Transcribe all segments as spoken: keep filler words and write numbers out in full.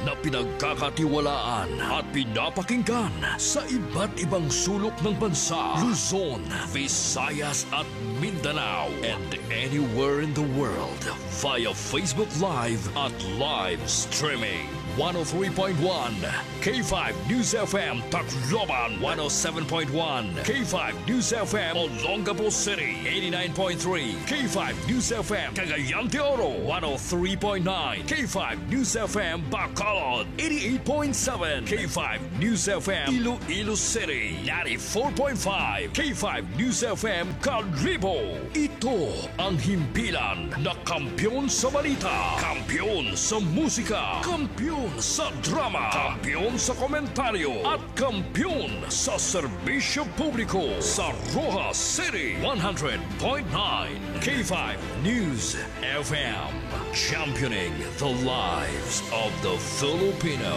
na pinagkakatiwalaan at pinapakinggan sa iba't ibang sulok ng bansa, Luzon, Visayas at Mindanao, and anywhere in the world via Facebook Live at live streaming. One oh three point one K five News F M Tacloban, one oh seven point one K five News F M Olongapo City, eighty-nine point three K five News F M Cagayan de Oro, one oh three point nine K five News F M Bacolod, eighty-eight point seven K five News F M Iloilo City, ninety-four point five K five News F M Kalibo. Ito ang himpilan na kampiyon sa balita, kampiyon sa musika, kampiyon sa drama, kampiyon sa komentaryo, at kampiyon sa serbisyo publiko sa Roxas City, one hundred point nine K five News F M. Championing the lives of the Filipino.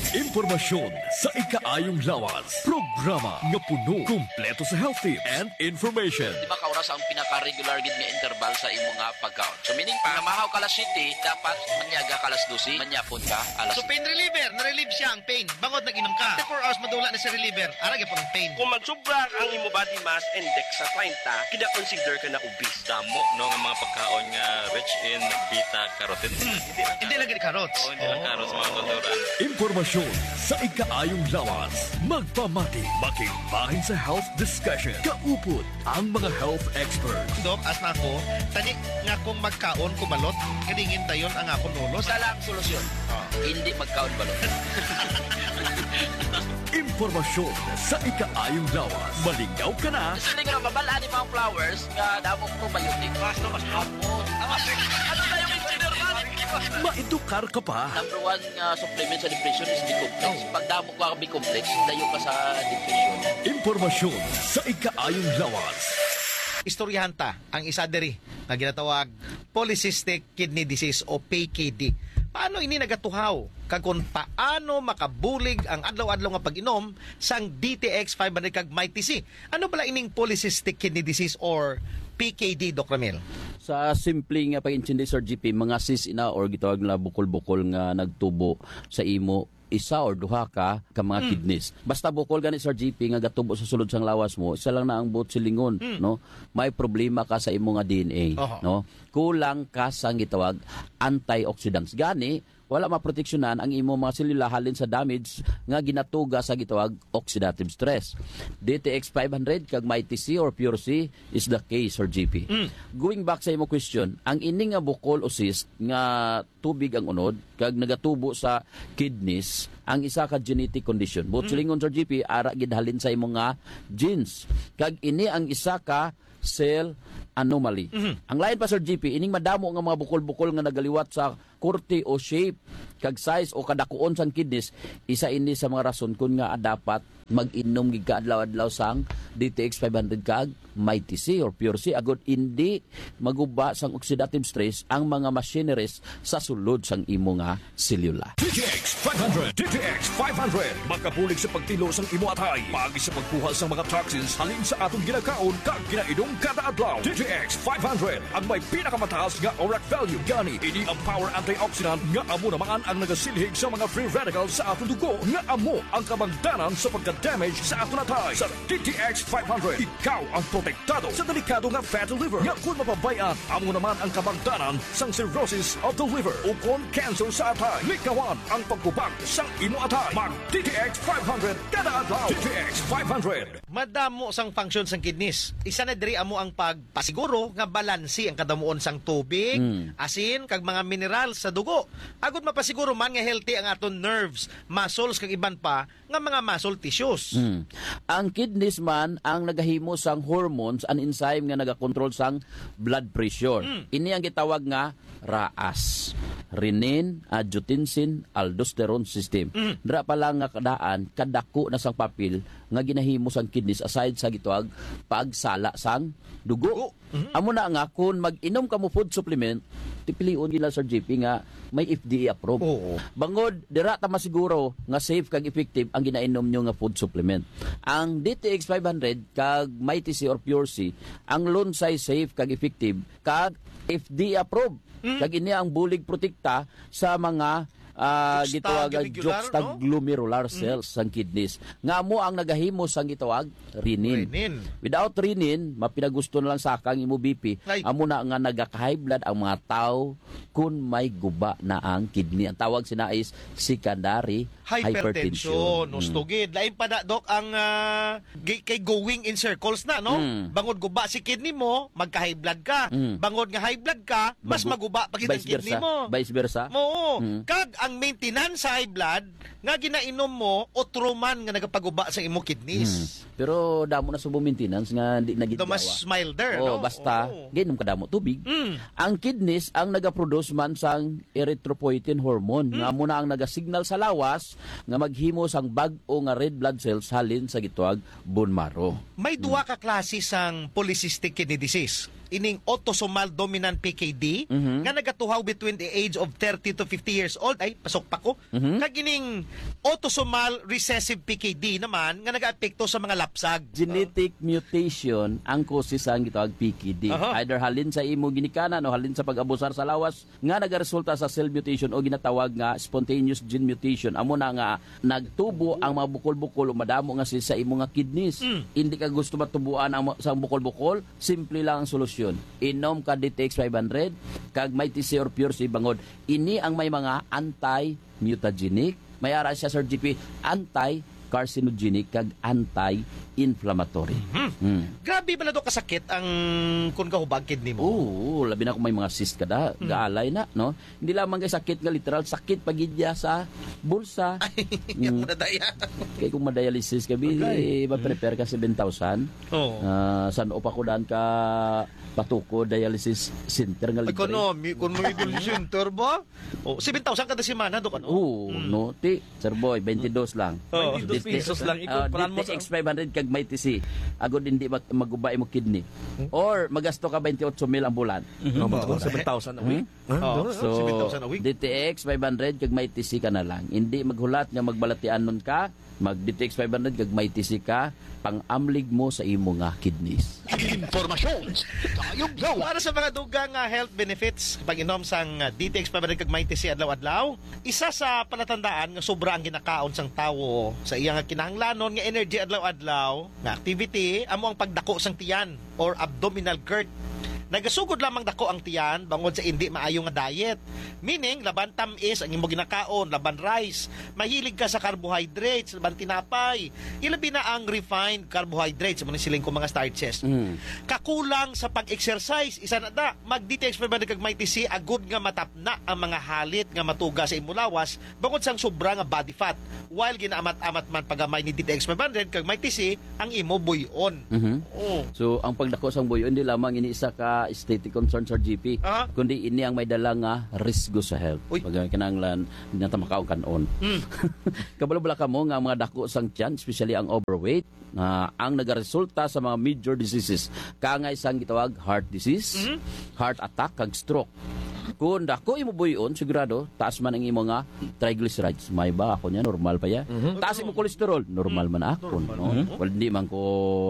Impormasyon sa ikaayong lawas. Programa nga puno, kumpleto sa health tips and information. Di ba ka oras ang pinaka-regular gid nga interval sa imo nga pagkaon? So, meaning pa, namahaw ka alas siyete, dapat manyaga ka alas dose, manyapon ka alas So, pain reliever, na-relieve siya ang pain. Bangod nag-inom ka. After four hours, madula na sa reliever. Ara gyapon ang pain. Kung magsubra ang imo body mass index sa treinta, kina-consider ka na obese. Damo, no, nga mga pagkaon nga rich in beta carotene. Hindi lang Hindi lang gid carrots. Oo, hindi lang carrots, mga kulturan. Impormasyon sa ikaayong lawas. Magpamati, makigbahin sa health discussion. Kaupod ang mga health experts. Dok, as na ako, tani nga kung magkaon ko balot, kadingin dayon ang akon ulo. Isa lang solusyon. Ah. Hindi magkaon balot. Impormasyon sa ikaayong lawas. Malingaw ka na. Gusto ni nga mabal-an ni mga flowers nga damo probiotic. Mas na mas hapon. Ano na yung engineer man? Maedukar ka pa. Number one nga supplement sa depression is B-complex. Oh. Pag damo ka B-complex, layo ka sa depression. Impormasyon sa ikaayong lawas. Istoryahan ta ang isa diri nga ginatawag polycystic kidney disease o P K D. Paano ini nagatuhaw? Kag kung paano makabulig ang adlaw-adlaw nga pag-inom sang D T X five hundred kag Mighty C? Ano bala ining polycystic kidney disease or P K D, Doc Ramil? Sa simple nga pag-intindi, Sir G P, mga cyst ina or gitawag nila bukol-bukol nga nagtubo sa imo isa or duha ka, ka mga Mm. kidneys. Basta bukol gani, Sir G P, nga gatubo sa sulod sang lawas mo, isa lang na ang buot silingon, Mm. no? May problema ka sa imo nga D N A, Oho. no? Kulang ka sa gitawag antioxidants. Gani, wala maproteksyonan ang imo mga selula halin sa damage nga ginatuga sa gitawag oxidative stress. D T X five hundred kag Mighty C or Pure C is the case, Sir G P. Mm. Going back sa imo question, ang ini nga bukol o cyst nga tubig ang unod kag nagatubo sa kidneys ang isa ka genetic condition. Buot Mm. silingon, Sir G P, ara gid halin sa imo nga genes. Kag ini ang isa ka cell anomaly. Mhm. Ang lain pa, Sir G P, ining madamo nga mga bukol-bukol nga nagaliwat sa korte o shape, kag size o kadakuon sang kidneys, isa ini sa mga rason kun nga dapat mag-inom gid ka adlaw-adlaw sang D T X five hundred kag Mighty C or Pure C, agod indi maguba sang oxidative stress ang mga machineries sa sulod sang imo nga selula. D T X five hundred, D T X five hundred, makabulig sa pagtilo sang imo atay, paagi sa pagkuha sang mga toxins halin sa atong ginakaon kag ginainom kada adlaw. D T X five hundred ang may pinakamataas nga ORAC value. Gani, ini ang power antioxidant nga amo naman ang nagasilhig sa mga free radicals sa atong dugo nga amo ang kabangdanan sa pagka-damage sa atong atay. Sa D T X five hundred, ikaw ang protektado sa delikado nga fatty liver nga kon mapabay-an, amo naman ang kabangdanan sang cirrhosis of the liver o kon cancer sa atay. Likawan ang pagkubag sang imo atay. Mag D T X five hundred kada adlaw. D T X five hundred. Madamo sang function sang kidneys. Isa na diri amo ang pagpasiguro nga balanse ang kadamuon sang tubig, Mm. asin, kag mga mineral sa dugo. Agud mapasiguro man nga healthy ang aton nerves, muscles, kag iban pa nga mga muscle tissues. Mm. Ang kidneys man ang nagahimo sang hormones and enzyme nga nagakontrol sang blood pressure. Mm. Ini ang gitawag nga RAAS, renin, angiotensin, aldosterone system. Mm. Dira pa lang nga kadaan, kadako na sang papel nga ginahimo sang kidneys aside sa gitawag pagsala sang dugo. Dugo. Mhm. Amo na nga, kung mag-inom ka mo food supplement, tipilion gina, Sir J P, nga may F D A approve. Oo. Bangod, dira ta masiguro nga safe kag effective ang ginainom nyo nga food supplement. Ang D T X five hundred kag Mighty C or Pure C, ang lunsay safe kag effective kag F D A approve. Mm. Kag ini ang bulig protekta sa mga, ah, Juxta gitawag ang glandular, no? Juxtaglomerular Mm. cells sang kidneys. Nga amo ang nagahimo sang gitawag renin. Renin. Without renin, mapinagusto na lang sa kang imo B P. Ay. Amo na nga nagaka-high blood ang mga tao kung may guba na ang kidney. Ang tawag sina is secondary Hypertension, hypertension. Husto Mm. gid. Lain pa na, Doc, ang, ah, gi-, kay going in circles na, no? Mm. Bangod guba si kidney mo, magka-high blood ka. Mm. Bangod nga high blood ka, mas Magu-, maguba pa gid ang vice kidney versa. mo. Vice versa. Oo. Mm. Kag ang maintenance sa high blood nga ginainom mo, utro man nga nagapaguba sa imo kidneys. Mm. Pero damo na subo maintenance nga di na gid Daw mas gawa. milder, Oo, no? basta Oo. ginom ka damo tubig. Mm. Ang kidneys ang nagaproduce man sang erythropoietin hormone, Mm. nga amo na ang nagasignal sa lawas nga maghimo sang bag-o nga red blood cells halin sa gitawag bone marrow. May duha Mm. ka klase sang polycystic kidney disease. Ining autosomal dominant P K D, Mhm. nga nagatuhaw between the age of thirty to fifty years old. Ay, pasok pa ko. Mhm. Kag ining autosomal recessive P K D naman nga nagaapekto sa mga lapsag. Genetic mutation ang causes sang gitawag P K D. Aha. Either halin sa imo ginikanan o halin sa pag-abusar sa lawas nga nagaresulta sa cell mutation o ginatawag nga spontaneous gene mutation. Amo na nga nagtubo ang mga bukol-bukol o madamo nga si sa imo nga kidneys. Mm. Hindi ka gusto matubuan ang ma-, sa bukol-bukol, simple lang ang solusyon. Inom ka D T X five hundred, kag may T C or Pure C bangod. Ini ang may mga anti-mutagenic. May ara siya, Sir G P, anti-carcinogenic kag anti-inflammatory. Mhm. Hmm. Grabe pala do kasakit ang kun kahubag kidney mo. Oo, labi na kung may mga cyst ka da, Hmm. gaalay na, no? Hindi lamang kay sakit nga literal, sakit pa gid niya sa bulsa. Ay, Mm. mo na daya. Kay kung ma-dialysis ka, bi, Okay. ba-prepare ka seven thousand? Oo. Ah, san-o pa ko daan ka patuko dialysis center nga libre? Economy, kung may dialysis center ba? Oh, seven thousand kada semana, Dok, ano? Oo, Mm. no? Ti, Sir Boy, twenty-two lang. Oo. Twenty-two pesos lang, Ah, ikumpran mo sa D T X five hundred kag may T C. Agod hindi mag-, maguba imo kidney. Hmm? Or magasto ka twenty-eight mil ang bulan. Mhm. Oh, Oo. seven thousand a week. Hmm? Ah, Oo. no, So, seven thousand a week. D T X five hundred kag may T C ka na lang. Hindi maghulat nga magbalatianon ka, mag D T X five hundred kag may T C ka, pang-amlig mo sa imo nga kidneys. Impormasyon sa Dayog Yawa. Para sa mga dugang nga health benefits, pag-inom sang, ah, D T X five hundred kag may T C adlaw-adlaw, isa sa palatandaan nga sobra ang ginakaon sang tawo sa iya nga kinahanglanon nga energy adlaw-adlaw nga activity amo ang pagdako sang tiyan or abdominal girth. Nagasugod lamang dako ang tiyan bangod sa indi maayo nga diet. Meaning, laban tam-is ang imo ginakaon, laban rice. Mahilig ka sa carbohydrates, laban tinapay. Ilabi na ang refined carbohydrates, amo ni siling ko mga starches. Mm. Kakulang sa pag-exercise, isa na da, mag D T X five hundred kag may T C, agud nga matapna ang mga halit nga matuga sa imo lawas, bangod sang sobra nga body fat. While ginaamat-amat man pagamay ni D T X five hundred kag may T C ang imo buy-on. Mhm. Oh. So, ang pagdako sang buy-on, di lamang ini isa ka aesthetic concern, Sir G P, Aha. kundi ini ang may dala nga risgo sa health. Uy. Pag kinahanglan, di na ta makaon kanon. Mm. Kabalo bala kamo nga mga dako sang tiyan, especially ang overweight, ah, ang nagaresulta sa mga major diseases. Kangay sang gitawag heart disease, Mhm. heart attack, kag stroke. Kung dako imo buy-on, sigurado, taas man ang imo nga triglycerides. May ba ako niya? Normal pa ya. Mhm. Taas imo cholesterol? Normal man ako, Normal no? man. Mhm. Well, hindi man ko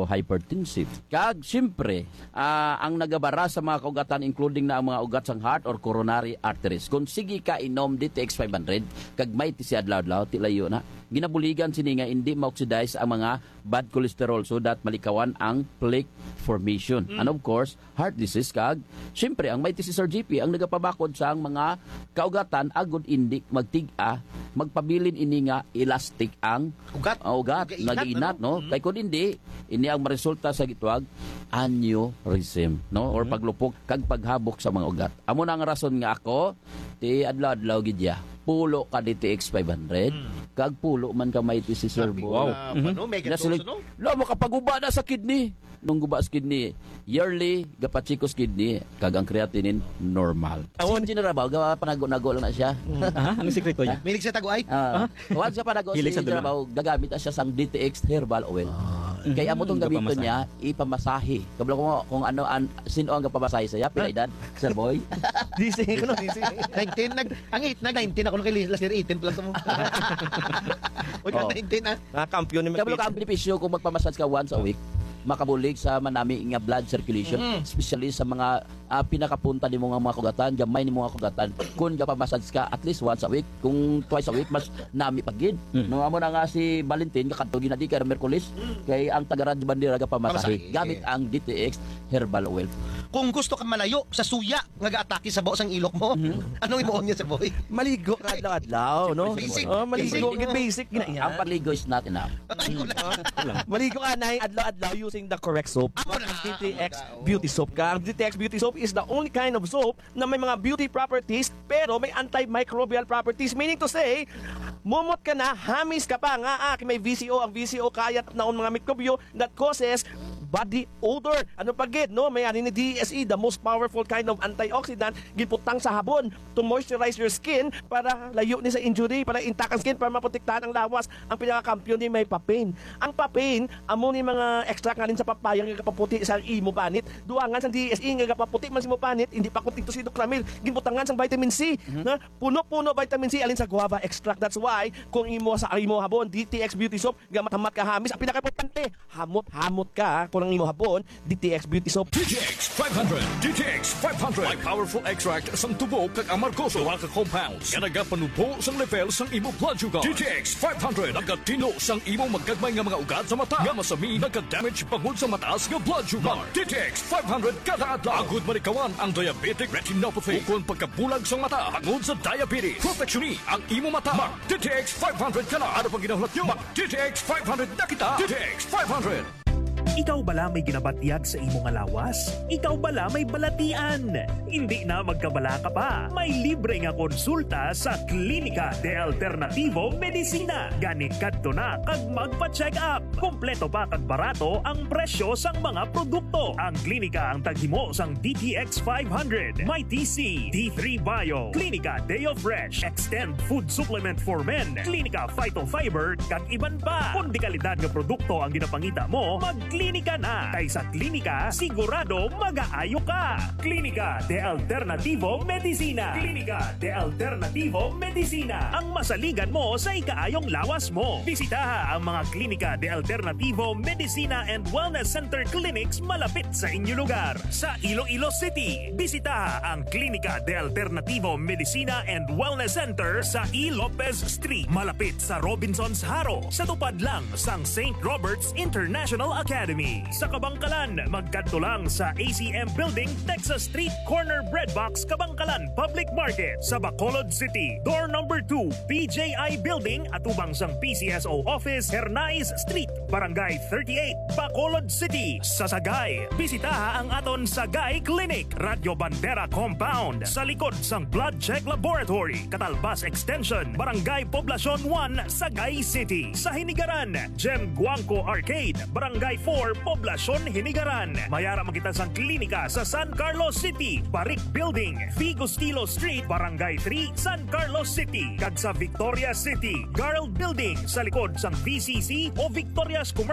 hypertensive. Kag, siyempre, ah, ang nagabara sa mga kaugatan, including na ang mga ugat sang heart or coronary arteries. Kung sige ka inom D T X five hundred, kag may T C adlaw-adlaw, ti layo na. Ginabuligan sini nga hindi ma-oxidize ang mga bad cholesterol so that malikawan ang plaque formation. Mm. And of course, heart disease kag, siyempre, ang may T C, Sir G P ang nagapabakod sa ang mga kaugatan agud hindi magtig-a, magpabilin ini nga elastic ang Ugat. ah, ugat, Nagainat, nagainat, ano? no? Mm. Kay kung hindi, ini ang maresulta sa gitawag aneurysm, no? Or Mm. paglupok kag paghabok sa mga ugat. Amo na ang rason nga ako, ti adlaw-adlaw gid ya. Pulo ka D T X five hundred, Mm. kag pulo man ka may T C Servo. Wow. Ah, Mhm. ano, mega Nasilig-, dose, no? Lo, makapaguba na sa kidney. Nung guba sa kidney, yearly, gapachikos kidney, kag ang creatinine, normal. Awon. Si General ba, gapanago-nago lang na siya. Ah, ano sikreto niya? Milig sa taguay? Ah, Ah? once ka panago Hilig si sa dula. General, gagamit na siya sang D T X herbal oil. Ah. Kay amo tong gamiton niya, ipamasahe. Kabalo ko kung ano, an, sino ang gapamasahe sa iya, pila edad, Sir Boy? Gising ko, no, gising. Nineteen, nag, ang eight, nag nineteen ako nung kay last year, eighteen plus mo. Uy, ka Oh. nineteen, ah. Mga kampiyon ni Kabalo ka, ang benepisyo kung magpamassage ka once a week, makabulig sa manami nga blood circulation, especially sa mga, ah, pinakapunta nimo nga mga kugatan, gamay nimo nga kugatan. Kung gapamassage ka at least once a week, kung twice a week, mas nami pa gid. No, amo na nga si Valentin, kakadto gid na di kay Merkulis, kay ang taga Radyo Bandera gapamasahe Pamasahe. gamit ang D T X Herbal Oil. Kung gusto ka malayo sa suya nga gaatake sa baho sang ilok mo, anong imo niya, Sir Boy? Maligo ka adlaw-adlaw, no? Basic. Oh, maligo, Basic. Basic gina yan. Ang paligo is not enough. Ay, wala. Maligo ka na adlaw-adlaw using the correct soap. Ako na. D T X Beauty Soap ka. Ang D T X Beauty Soap is the only kind of soap na may mga beauty properties pero may antimicrobial properties. Meaning to say, mumot ka na, hamis ka pa nga ah, may V C O. Ang V C O kaya tapnaon mga mikrobyo that causes body odor. Ano pa gid, no? May ani ni D S E, the most powerful kind of antioxidant, giputang sa habon to moisturize your skin para layo ni sa injury, para intact ang skin, para maprotektahan ang lawas. Ang pinakakampiyon ni may papain. Ang papain, amo ni mga extract nga sa papaya nga gapaputi sa imo panit. Duangan sa D S E nga gapaputi man sa imo panit, hindi pa kuntento si Doc Ramil. Ginbutangan sang vitamin C, na puno-puno vitamin C alin sa guava extract. That's why kung imo sa imo habon, D T X Beauty Soap, gamat-hamat ka hamis, ang pinakaimportante, hamot-hamot ka kung ang imo habon, D T X Beauty Soap. D T X five hundred. D T X five hundred. May powerful extract sang tubo kag amargoso, duha ka compounds nga nagapanubo sang level sang imo blood sugar. D T X five hundred nagatinlo sang imo magagmay nga mga ugat sa mata nga masami, naga-damage bangod sa mataas nga blood sugar. Mag D T X five hundred kada adlaw agud malikawan ang diabetic retinopathy ukon pagkabulag sang mata bangod sa diabetes. Proteksyon ni ang imo mata. Mag D T X five hundred ka na. Ano pang ginahulat nyo? Mag D T X five hundred na kita. D T X five hundred. Ikaw bala may ginabatyag sa imo nga lawas? Ikaw bala may balatian? Hindi na magkabalaka pa. May libre nga konsulta sa Klinika de Alternativo Medicina. Gani kadto na kag magpa-check up. Kompleto pa kag barato ang presyo sang mga produkto. Ang klinika ang taghimo sang D T X five hundred, Mighty C, D three Bio, Klinika Deo Fresh, Extend Food Supplement for Men, Klinika Phytofiber, kag iban pa. Kung dekalidad nga produkto ang ginapangita mo, magklinika na. Kay sa klinika, sigurado magaayo ka. Klinika de Alternativo Medicina. Klinika de Alternativo Medicina. Ang masaligan mo sa ikaayong lawas mo. Bisitaha ang mga Klinika de Alternativo Medicina and Wellness Center clinics malapit sa inyo lugar. Sa Iloilo City, bisitaha ang Klinika de Alternativo Medicina and Wellness Center sa E. Lopez Street, malapit sa Robinsons Jaro, sa tupad lang sang Saint Robert's International Academy. Sa Kabangkalan, magkadto lang sa A C M Building, Texas Street, corner Bread Box, Kabangkalan Public Market. Sa Bacolod City, door number two, P J I Building, atubang sang P C S O Office, Hernais Street, Barangay thirty-eight, Bacolod City. Sa Sagay, bisitaha ang aton Sagay Clinic, Radyo Bandera Compound, sa likod sang Blood Check Laboratory, Catalbas Extension, Barangay Poblacion one, Sagay City. Sa Hinigaran, Gem Guangco Arcade, Barangay four, Poblacion, Hinigaran. Mayara man kita sang klinika sa San Carlos City, Barik Building, Vigo Stilo Street, Barangay three, San Carlos City, kag sa Victoria City, Garld Building, sa likod sang V C C o Victoria's Commercial